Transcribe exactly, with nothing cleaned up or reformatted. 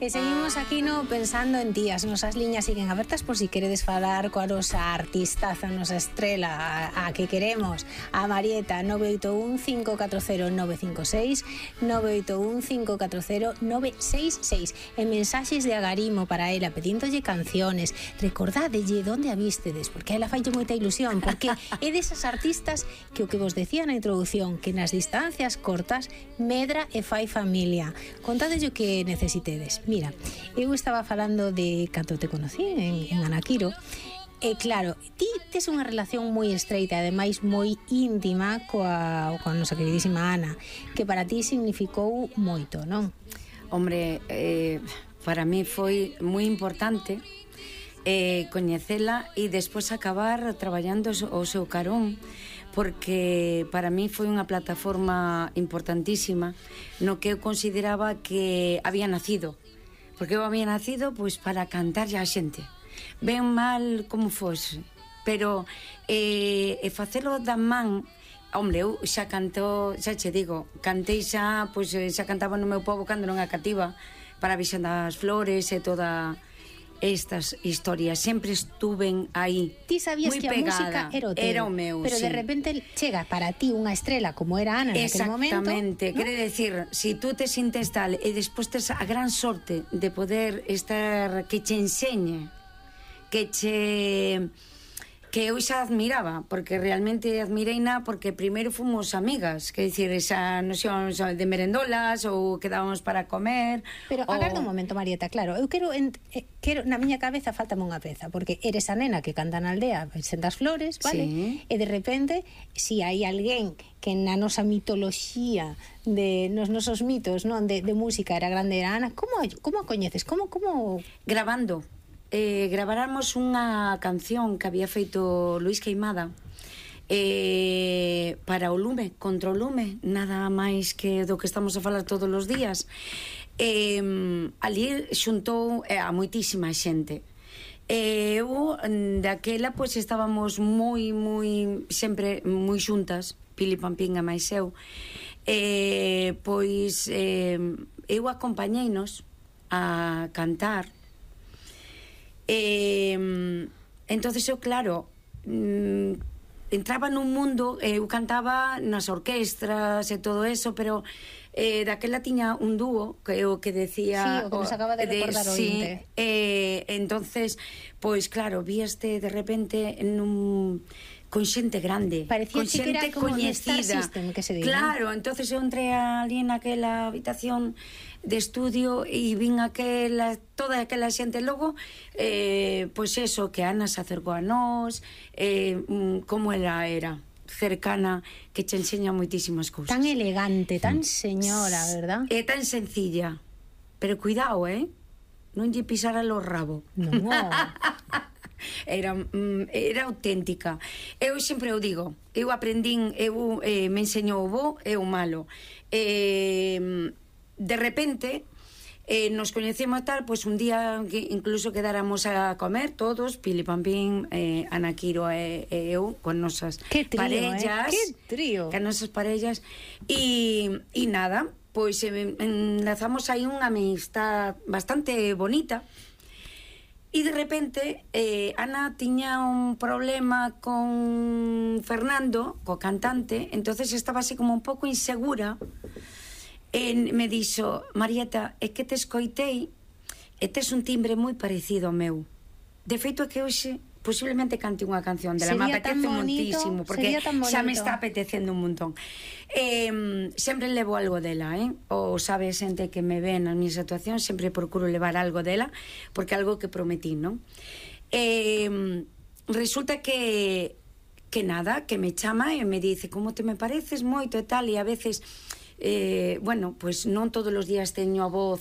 E seguimos aquí no pensando en ti. As nosas liñas siguen abertas por si queredes falar coa nosa artistaza, a nosa estrela, a, a que queremos, a Marieta. Nove oito un, cinco catro cero, nove cinco seis, nove oito un, cinco catro cero, nove seis seis. En mensaxes de agarimo para ela, pedíndolle canciones. Recordádelle onde a vístedes, porque a ela faille moita ilusión, porque é desas artistas que o que vos decía na introducción, que nas distancias cortas medra e fai familia. Contádelle o que necesitedes. Mira, eu estaba falando de cando te conocí en, en Anaquiro. E claro, ti tes unha relación moi estreita, ademais moi íntima coa, coa nosa queridísima Ana, que para ti significou moito, non? Hombre, eh, para mí foi moi importante eh, coñecela e despois acabar traballando o seu carón, porque para mí foi unha plataforma importantísima no que eu consideraba que había nacido, porque eu había nacido pois para cantarlle á xente, ben mal como fose, pero eh, e facelo da man. Hombre, eu xa canto, xa che digo, cantei xa, pois xa cantaba no meu pobo cando non a cativa, para a Virxen das Flores e toda estas historias, sempre estuven aí. Ti sabías que a música era o teu, era o meu, pero sí. De repente chega para ti unha estrela como era Ana naquele momento. Exactamente, ¿no? quere decir, si tú te sintes tal e despois tes a gran sorte de poder estar, que che enseñe, que che... que eu xa admiraba, porque realmente admireina, porque primeiro fomos amigas, que dicir, xa nos íbamos de merendolas ou quedábamos para comer. Pero o... agarda un momento, Marieta, claro, eu quero, en, eh, quero na miña cabeza faltame unha peza, porque eres a nena que canta na aldea Virxen das Flores, vale? Sí. E de repente, si hai alguén que na nosa mitoloxía, de nos nosos mitos, non, de, de música era grande, era Ana, como, como a coñeces? Como, como... Grabando. Eh, graváramos unha canción que había feito Luis Queimada eh, para o lume, contra o lume, nada máis que do que estamos a falar todos os días. Eh, ali xuntou eh, a moitísima xente. E eu, daquela, pois estábamos moi, moi, sempre moi xuntas, Pili Pampín e máis eu. Eh, pois eh, eu acompañeinos a cantar. Eh, entonces eu, claro, mm, entraba nun mundo, eu cantaba nas orquestras e todo eso, pero eh, daquela tiña un dúo que o que decía... Sí, o que nos acaba de recordar o sí, ointe. Eh, entonces, pois claro, víaste de repente nun... con xente grande, parecía con que xente era como coñecida. Star System, que se diga. Claro, entonces eu entré ali naquela habitación de estudio e vin aquela, toda aquela xente. Logo, eh, pois eso, que Ana se acercou a nós, eh, como ela era cercana, que che enseña moitísimas cousas. Tan elegante, tan señora, verdad? É tan sencilla, pero cuidado, eh? Non lle pisara o rabo. Non. Era, era auténtica. Eu sempre o digo, eu aprendín, eu eh, me enseñou o bo e o malo. Eh, de repente eh, nos coñecemos tal, pois un día que incluso quedáramos a comer todos, Pili Pampín, eh, Anaquiro e, e eu, con nosas que trío, parellas, eh? Que trío. Con nosas parellas e, e nada, pois eh, enlazamos aí unha amistad bastante bonita. E de repente eh, Ana tiña un problema con Fernando, co cantante, entonces estaba así como un pouco insegura e me dixo: Marieta, é que te escoitei e tes un timbre moi parecido ao meu. De feito é que hoxe posiblemente cante unha canción dela, me apetece moitísimo, porque xa me está apetecendo un montón. Eh, sempre levo algo dela, eh? O sabe a xente que me ve nas miñas actuacións, sempre procuro levar algo dela, porque é algo que prometí, non? Eh, resulta que que nada, que me chama e me dice: como te me pareces moito e tal, e a veces eh, bueno, pois non todos os días teño a voz